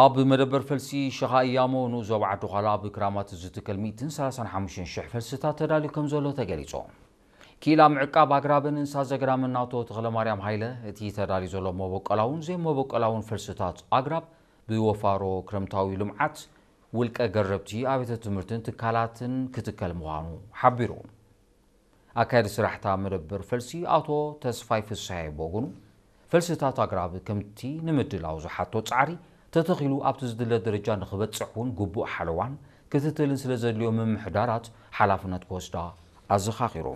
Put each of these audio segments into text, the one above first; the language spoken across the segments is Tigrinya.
ኣብ መደበር ፈልሲ ሸኻ እያሞ ንኡስ ዞባ ዓዲ ዃላ ኣብ ክራማት ዝትከል ሚእትን ሰላሳን ሓሙሽተን ሽሕ ፈልስታት ተዳልዩ ከም ዘሎ ተገሊጹ። ክኢላ ምዕቃብ ኣግራብን እንስሳ ዘገዳምን ኣቶ ተኽለማርያም ሃይለ፣ እቲ ተዳልዩ ዘሎ መበቆላውን ዘይመበቆላውን ፈልስታት ኣግራብ ብወፋሮ ክረምታዊ ልምዓት ውልቀ ገረብቲ ኣብያተ ትምህርትን ትካላትን ክትከል ምዃኑ ሓቢሩ። ኣካያዲ ስራሕታ መደበር ፈልሲ ኣቶ ተስፋይ ፍስሐ ብወገኑ፣ ፈልስታት ኣግራብ ከምቲ ንምድላው ዝሓቶ ጻዕሪ ተተኺሉ ኣብቲ ዝድለ ደረጃ ንኽበጽሕ እውን ግቡእ ሓለዋን ክትትልን ስለ ዘድልዮ ምምሕዳራት ሓላፍነት ክወስዳ ኣዘኻኺሩ።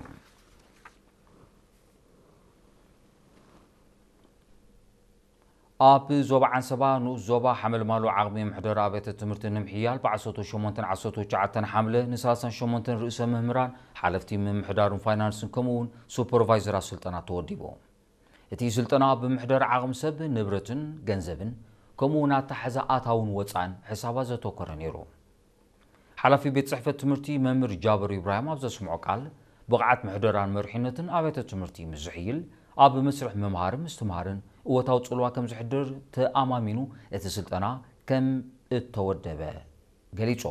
ኣብ ዞባ ዓንሰባ ንኡስ ዞባ ሓመልማሎ ዓቕሚ ምሕደራ ኣብያተ ትምህርቲ ንምሕያል ብ ዓሰርተ ሸሞንተን ዓሰርተ ትሽዓተን ሓምለ ን ሰላሳን ሸሞንተን ርእሰ መምህራን፣ ሓለፍቲ ምምሕዳርን ፋይናንስን ከምኡ እውን ሱፐርቫይዘራት ስልጠና ተወዲቡ። እቲ ስልጠና ኣብ ምሕደራ ዓቕሚ ሰብ፣ ንብረትን ገንዘብን ከምኡ እውን ኣተሓሕዛ ኣታውን ወጻእን ሕሳባት ዘተኮረ ነይሩ። ሓላፊ ቤት ጽሕፈት ትምህርቲ መምህር ጃብር ኢብራሂም ኣብ ዘስምዖ ቃል፣ ብቕዓት ምሕደራን መሪሕነትን ኣብያተ ትምህርቲ ምስ ዝሕይል፣ ኣብ መስርሕ ምምሃርን ምስትምሃርን እወታዊ ጽልዋ ከም ዘሕድር ተኣማሚኑ እቲ ስልጠና ከም እተወደበ ገሊጹ።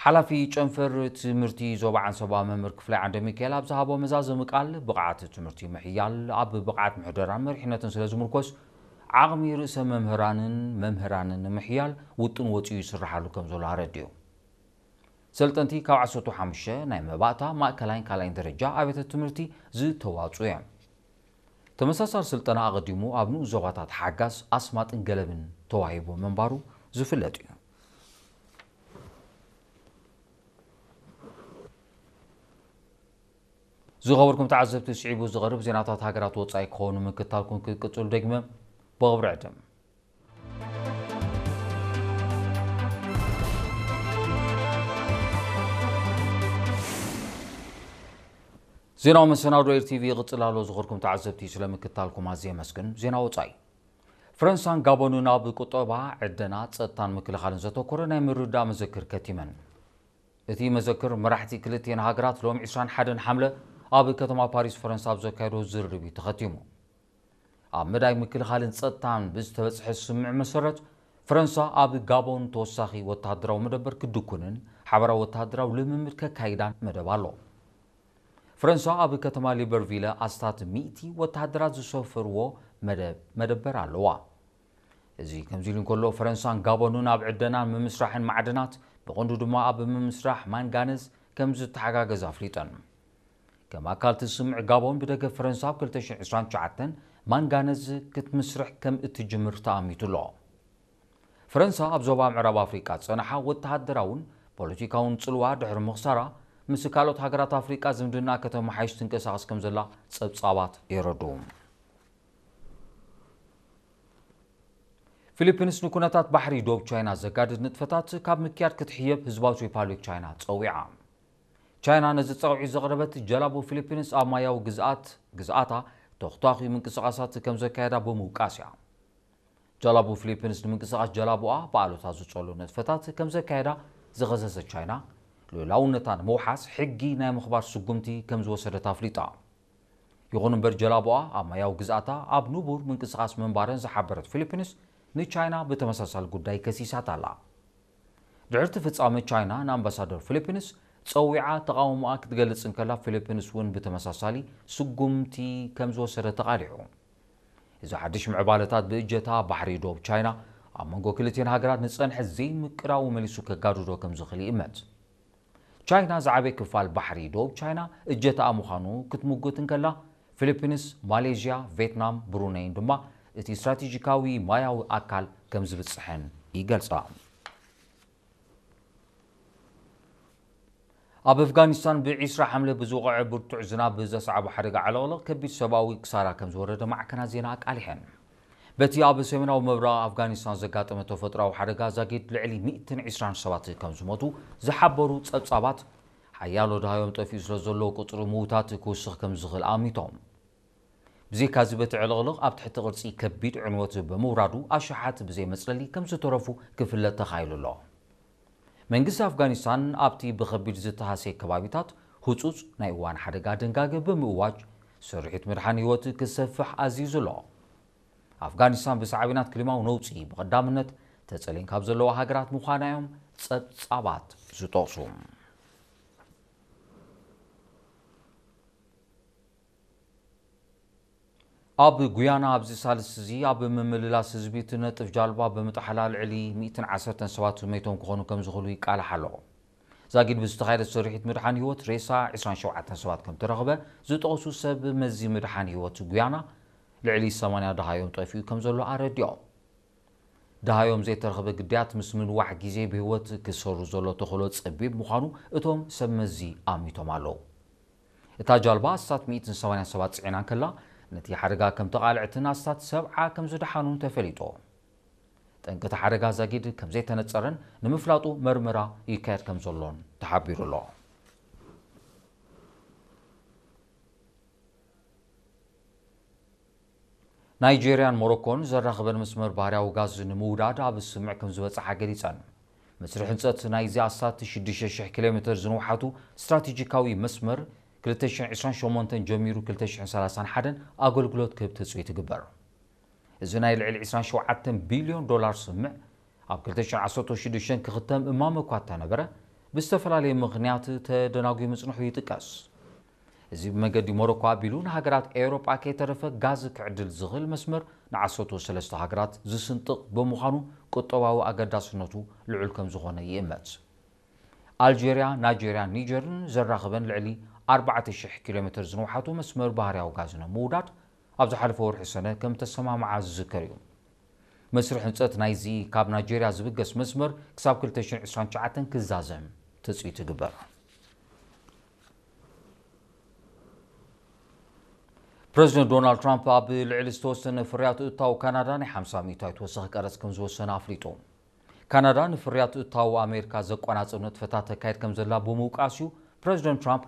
ሓላፊ ጨንፈር ትምህርቲ ዞባ ዓንሰባ መምህር ክፍላይ ዓንደ ሚካኤል ኣብ ዝሃቦ መዛዘሚ ቃል፣ ብቕዓት ትምህርቲ ምሕያል ኣብ ብቕዓት ምሕደራን መሪሕነትን ስለ ዝምርኮስ፣ ዓቕሚ ርእሰ መምህራንን መምህራንን ንምሕያል ውጥን ወጺኡ ይስርሓሉ ከም ዘሎ ኣረዲኡ። ሰልጠንቲ ካብ ዓሰርተ ሓሙሽተ ናይ መባእታ፣ ማእከላይን ካልኣይን ደረጃ ኣብያተ ትምህርቲ ዝተዋጽኡ እዮም። ተመሳሳሊ ስልጠና ኣቐዲሙ ኣብ ንኡስ ዞባታት ሓጋዝ፣ ኣስማጥን ገለብን ተዋሂቡ ምንባሩ ዝፍለጥ እዩ። ዝኸበርኩም ተዓዘብቲ፣ ስዒቡ ዝቐርብ ዜናታት ሃገራት ወጻኢ ክኸውን ምክታልኩም ክትቅጽሉ ደግመ ብኽብሪ ዕድም። ዜናዊ መሰናዶ ኤር ቲቪ ይቕጽል ኣሎ። ዝኸበርኩም ተዓዘብቲ፣ ስለ ምክታልኩም ኣዝየ የመስግን። ዜና ወጻኢ። ፈረንሳን ጋቦንን ኣብ ቁጠባ፣ ዕደና፣ ጸጥታን ምክልኻልን ዘተኮረ ናይ ምርድዳእ መዘክር ከቲመን። እቲ መዘክር መራሕቲ ክልቲኤን ሃገራት ሎሚ ዕስራን ሓደን ሓምለ ኣብ ከተማ ፓሪስ ፈረንሳ ኣብ ዘካየዶ ዝርርብ እዩ ተኸቲሙ። ኣብ መዳይ ምክልኻልን ጸጥታን ብዝተበጽሐ ስምምዕ መሰረት፣ ፈረንሳ ኣብ ጋቦን ተወሳኺ ወተሃደራዊ መደበር ክድኩንን ሓበራዊ ወተሃደራዊ ልምምድ ከካይዳን መደብ ኣሎ። ፈረንሳ ኣብ ከተማ ሊበርቪለ ኣስታት ሚእቲ ወተሃደራት ዝሰፈርዎ መደብ፣ መደበር ኣለዋ። እዚ ከምዚ ኢሉ እንከሎ፣ ፈረንሳን ጋቦንን ኣብ ዕደናን ምምስራሕን ማዕድናት፣ ብቐንዱ ድማ ኣብ ምምስራሕ ማንጋነዝ ከም ዝተሓጋገዛ ኣፍሊጠን። ከም ኣካል እቲ ስምምዕ፣ ጋቦን ብደገፍ ፈረንሳ ኣብ ክልተ ሽሕን ዕስራን ትሽዓተን ማንጋነዝ ክትምስርሕ ከም እትጅምር ተኣሚቱ ኣሎ። ፈረንሳ ኣብ ዞባ ምዕራብ ኣፍሪቃ ዝጸንሓ ወተሃደራውን ፖለቲካውን ጽልዋ ድሕሪ ምኽሳራ፣ ምስ ካልኦት ሃገራት ኣፍሪቃ ዝምድና ከተመሓይሽ ትንቀሳቐስ ከም ዘላ ጸብጻባት የረድኡ። ፊሊፒንስ ንኩነታት ባሕሪ ዶብ ቻይና ዘጋድድ ንጥፈታት ካብ ምክያድ ክትሕየብ ህዝባዊት ሪፓብሊክ ቻይና ጸዊዓ። ቻይና ነዚ ጸውዒት ዘቕረበት፣ ጀላቡ ፊሊፒንስ ኣብ ማያዊ ግዝኣት፣ ግዝኣታ ተኹታኹ ምንቅስቓሳት ከም ዘካየዳ ብምውቃስ እያ። ጀላቡ ፊሊፒንስ ንምንቅስቓስ ጀላቡኣ ብኣሉታ ዝጸሉ ንጥፈታት ከም ዘካየዳ ዝኸሰሰት ቻይና፣ ልኡላውነታ ንምውሓስ ሕጊ ናይ ምኽባር ስጉምቲ ከም ዝወሰደት ኣፍሊጣ። ይኹን እምበር፣ ጀላቡኣ ኣብ ማያዊ ግዝኣታ ኣብ ንቡር ምንቅስቓስ ምንባረን ዝሓበረት ፊሊፒንስ፣ ንቻይና ብተመሳሳሊ ጉዳይ ከሲሳታ ኣላ። ድሕሪ እቲ ፍጻመ፣ ቻይና ንኣምባሳደር ፊሊፒንስ ጸዊዓ ተቓውሞኣ ክትገልጽ እንከላ፣ ፊሊፒንስ እውን ብተመሳሳሊ ስጉምቲ ከም ዝወሰደ ተቓሊዑ። እዚ ሓድሽ ምዕባለታት፣ ብእጀታ ባሕሪ ዶብ ቻይና ኣብ መንጎ ክልቲኤን ሃገራት ንጸንሐ ዘይምቅራው መሊሱ ከጋድዶ ከም ዝኽእል ይእመት። ቻይና ዝዓበየ ክፋል ባሕሪ ዶብ ቻይና እጀታኣ ምዃኑ ክትምጉት እንከላ፣ ፊሊፒንስ፣ ማሌዥያ፣ ቬትናም፣ ብሩነይን ድማ እቲ ስትራቴጂካዊ ማያዊ ኣካል ከም ዝብጽሐን ይገልጻ። ኣብ ኣፍጋኒስታን ብዒስራ ሓምለ ብዝወቕዐ ብርቱዕ ዝናብ ብዘስዓቦ ሓደጋ ዕልቕልቕ ከቢድ ሰብኣዊ ክሳራ ከም ዝወረደ ማዕከናት ዜና ኣቃሊሐን። በቲ ኣብ ሰሜናዊ ምብራቕ ኣፍጋኒስታን ዘጋጠመ ተፈጥሮኣዊ ሓደጋ ዛጊድ ልዕሊ ሚእትን ዕስራን ሰባት ከም ዝሞቱ ዝሓበሩ ጸብጻባት፣ ሓያሎ ደሃዮም ጠፊኡ ስለ ዘሎ ቁጽሪ ምዉታት ክውስኽ ከም ዝኽእል ኣሚቶም። ብዘይካዚ፣ በቲ ዕልቕልቕ ኣብ ትሕቲ ቅርጺ ከቢድ ዕንወት ብምውራዱ፣ ኣሽሓት ብዘይ መጽለሊ ከም ዝተረፉ ክፍለጥ ተኻኢሉ ኣሎ። መንግስቲ ኣፍጋኒስታን ኣብቲ ብኸቢድ ዝተሃስየ ከባቢታት ህጹጽ ናይ እዋን ሓደጋ ድንጋገ ብምእዋጅ፣ ስርሒት ምድሓን ህይወት ክሰፍሕ ኣዚዙ ኣሎ። ኣፍጋኒስታን ብሳዕቤናት ክሊማዊ ነውጺ ብቐዳምነት ተጸልየን ካብ ዘለዋ ሃገራት ምዃና እዮም ጸብጻባት ዝጠቕሱ። ኣብ ጉያና ኣብዚ ሳልስቲ እዚ ኣብ ምምልላስ ህዝቢ እቲ ነጥፍ ጃልባ ብምጥሓላ ልዕሊ ሚእትን ዓሰርተን ሰባት መይቶም ክኾኑ ከም ዝኽእሉ ይቃላሕ ኣሎ። ዛጊድ ብዝተኻየደ ስርሒት ምድሓን ህይወት ሬሳ ዕስራን ሸውዓተን ሰባት ከም ተረኽበ ዝጠቕሱ ሰብ መዚ ምድሓን ህይወት ጉያና፣ ልዕሊ ሰማንያ ደሃዮም ጠፊኡ ከም ዘሎ ኣረዲኦም። ደሃዮም ዘይተረኽበ ግዳያት ምስ ምንዋሕ ግዜ ብህይወት ክሰሩ ዘሎ ተኽእሎ ጸቢብ ምዃኑ እቶም ሰብ መዚ ኣሚቶም ኣለዉ። እታ ጃልባ ኣስታት ሚእትን ሰማንያን ሰባት ጽዒና እንከላ፣ ነቲ ሓደጋ ከም ተቓልዐትን ኣስታት ሰብዓ ከም ዝደሓኑን ተፈሊጡ። ጠንቂ እቲ ሓደጋ ዛጊድ ከም ዘይተነጸረን ንምፍላጡ መርመራ ይካየድ ከም ዘሎን ተሓቢሩ ኣሎ። ናይጄርያን ሞሮኮን ዘራኽበን መስመር ባህርያዊ ጋዝ ንምውዳድ ኣብ ስምምዕ ከም ዝበጽሓ ገሊጸን። መስርሕ ህንጸት ናይዚ ኣስታት ሽዱሽተ ሽሕ ኪሎ ሜተር ዝንውሓቱ ስትራቴጂካዊ መስመር ክልተ ሽሕን ዕስራን ሸሞንተን ጀሚሩ ክልተ ሽሕን ሰላሳን ሓደን ኣገልግሎት ክህብ ትጽቢት ይግበር። እዚ ናይ ልዕሊ ዕስራን ሸውዓተን ቢልዮን ዶላር ስምምዕ ኣብ ክልተ ሽሕን ዓሰርተ ሽዱሽተን ክኽተም እማመ እኳ እንተነበረ፣ ብዝተፈላለየ ምኽንያት ተደናጒዩ ምጽንሑ ይጥቀስ። እዚ ብመገዲ ሞሮኮ ኣቢሉ ንሃገራት ኤውሮጳ ከይተረፈ ጋዝ ክዕድል ዝኽእል መስመር ንዓሰርተ ሰለስተ ሃገራት ዝስንጥቕ ብምዃኑ ቁጠባዊ ኣገዳስነቱ ልዑል ከም ዝኾነ ይእመት። ኣልጀርያ፣ ናይጀርያን ኒጀርን ዘራኽበን ልዕሊ ኣርባዕተ ሽሕ ኪሎ ሜተር ዝንውሓቱ መስመር ባህርያዊ ጋዝ ንምውዳድ ኣብ ዝሓለፈ ወርሒ ሰነ ከም ተሰማምዓ ዝዝከር እዩ። መስርሕ ህንጸት ናይዚ ካብ ናይጀርያ ዝብገስ መስመር ክሳብ ክልተ ሽሕን ዕስራን ትሽዓተን ክዛዘም ትጽቢት ይግበር። ፕረዚደንት ዶናልድ ትራምፕ ኣብ ልዕሊ ዝተወሰነ ፍርያት እታው ካናዳ ናይ ሓምሳ ሚእታዊት ወሰኽ ቀረጽ ከም ዝወሰነ ኣፍሊጡ። ካናዳ ንፍርያት እታው ኣሜሪካ ዘቆናጽብ ንጥፈታት ተካይድ ከም ዘላ ብምውቃስ እዩ ፕረዚደንት ትራምፕ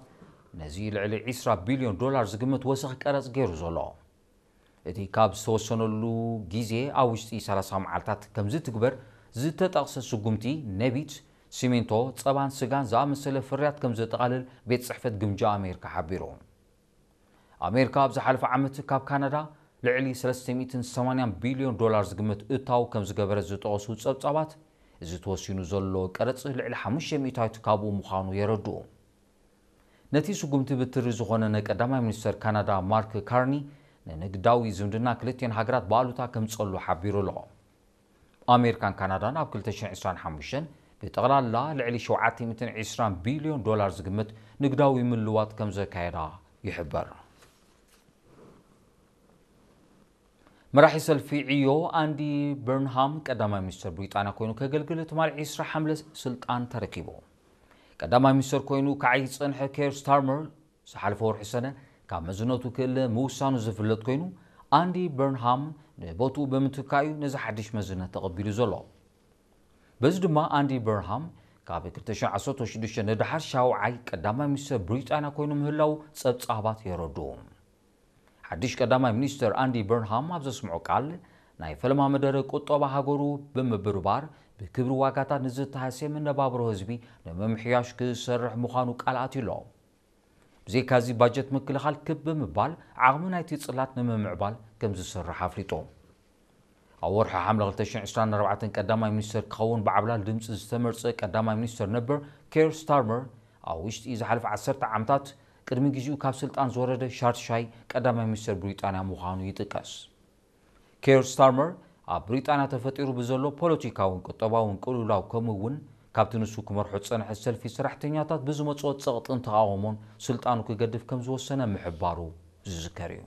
ነዚ ልዕሊ ዕስራ ቢልዮን ዶላር ዝግምት ወሰኽ ቀረጽ ገይሩ ዘሎ። እቲ ካብ ዝተወሰነሉ ግዜ ኣብ ውሽጢ ሰላሳ መዓልታት ከም ዝትግበር ዝተጠቕሰ ስጉምቲ፣ ነቢት፣ ሲሚንቶ፣ ጸባን ስጋን ዝኣመሰለ ፍርያት ከም ዘጠቓልል ቤት ጽሕፈት ግምጃ ኣሜሪካ ሓቢሩ። ኣሜሪካ ኣብ ዝሓለፈ ዓመት ካብ ካናዳ ልዕሊ ሰለስተ ሚእትን ሰማንያን ቢልዮን ዶላር ዝግመት እታው ከም ዝገበረት ዝጠቐሱ ጸብጻባት፣ እዚ ተወሲኑ ዘሎ ቀረጽ ልዕሊ ሓሙሽተ ሚእታዊት ካብኡ ምዃኑ የረድኡ። ነቲ ስጉምቲ ብትሪ ዝኾነነ ቀዳማይ ሚኒስተር ካናዳ ማርክ ካርኒ፣ ንንግዳዊ ዝምድና ክልቲኤን ሃገራት ብኣሉታ ከምጸሉ ሓቢሩ ኣሎ። ኣሜሪካን ካናዳን ኣብ ክልተ ሽሕን ዕስራን ሓሙሽተን ብጠቕላላ ልዕሊ ሸውዓተ ሚእትን ዕስራን ቢልዮን ዶላር ዝግመት ንግዳዊ ምልዋጥ ከም ዘካየዳ ይሕበር። መራሒ ሰልፊ ዕዮ ኣንዲ በርንሃም ቀዳማይ ሚኒስተር ብሪጣንያ ኮይኑ ከገልግል ትማሊ ዕስራ ሓምለ ስልጣን ተረኪቡ። ቀዳማይ ሚኒስተር ኮይኑ ክዓይ ዝጸንሐ ኬር ስታርመር ዝሓለፈ ወርሒ ሰነ ካብ መዝነቱ ክእለ ምውሳኑ ዝፍለጥ ኮይኑ፣ ኣንዲ በርንሃም ንቦትኡ ብምትካእ'ዩ ነዚ ሓድሽ መዝነት ተቐቢሉ ዘሎ። በዚ ድማ ኣንዲ በርንሃም ካብ ክልተ ሽሕን ዓሰርተ ሽዱሽተ ንደሓር ሻውዓይ ቀዳማይ ሚኒስተር ብሪጣንያ ኮይኑ ምህላው ጸብጻባት የረድኡ። ሓድሽ ቀዳማይ ሚኒስተር ኣንዲ በርንሃም ኣብ ዘስምዖ ቃል፣ ናይ ፈለማ መደረ ቁጠባ ሃገሩ ብምብርባር ብክብሪ ዋጋታት ንዝተሃስየ መነባብሮ ህዝቢ ንምምሕያሽ ክሰርሕ ምዃኑ ቃል ኣትዩ ኣሎ። ብዘይካዚ ባጀት ምክልኻል ክብ ብምባል ዓቕሚ ናይቲ ጽላት ንምምዕባል ከም ዝሰርሕ ኣፍሊጡ። ኣብ ወርሒ ሓምለ ክልተ ሽሕን ዕስራን ኣርባዕተን ቀዳማይ ሚኒስተር ክኸውን ብዓብላል ድምጺ ዝተመርጸ ቀዳማይ ሚኒስተር ነበር ኬር ስታርመር ኣብ ውሽጢ ዝሓለፈ ዓሰርተ ዓመታት ቅድሚ ግዜኡ ካብ ስልጣን ዝወረደ ሻድሻይ ቀዳማይ ሚኒስተር ብሪጣንያ ምዃኑ ይጥቀስ። ኬር ስታርመር ኣብ ብሪጣንያ ተፈጢሩ ብዘሎ ፖለቲካውን ቁጠባውን ቅልውላው ከምኡ እውን ካብቲ ንሱ ክመርሖ ዝጸንሐ ሰልፊ ሰራሕተኛታት ብዝመጽኦ ጸቕጥን ተቓውሞን ስልጣኑ ክገድፍ ከም ዝወሰነ ምሕባሩ ዝዝከር እዩ።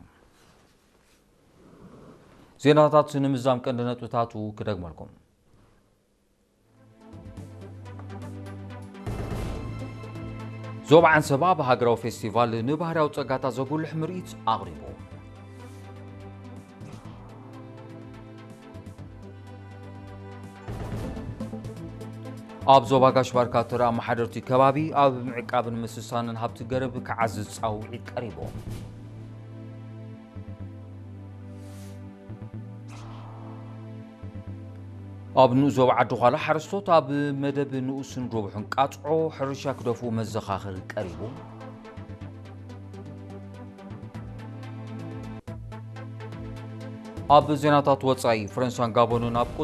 ዜናታት ንምዛም ቀንዲ ነጥብታቱ ክደግመልኩም። ዞባ ዓንሰባ ኣብ ሃገራዊ ፌስቲቫል ንባህርያዊ ጸጋታት ዘጉልሕ ምርኢት ኣቕሪቡ። ኣብ ዞባ ጋሽ ባርካ ተራ ኣመሓደርቲ ከባቢ ኣብ ምዕቃብን ምስሳንን ሃብቲ ገረብ ክዓዝዝ ጻውዒት ቀሪቡ። ኣብ ንኡስ ዞባ ዓዲ ዃላ ሓረስቶት ኣብ መደብ ንኡስን ረቡሕን ቃጽዖ ሕርሻ ክደፍኡ መዘኻኸሪ ቀሪቡ። ኣብ ዜናታት ወጻኢ፣ ፈረንሳን ጋቦንን ኣብ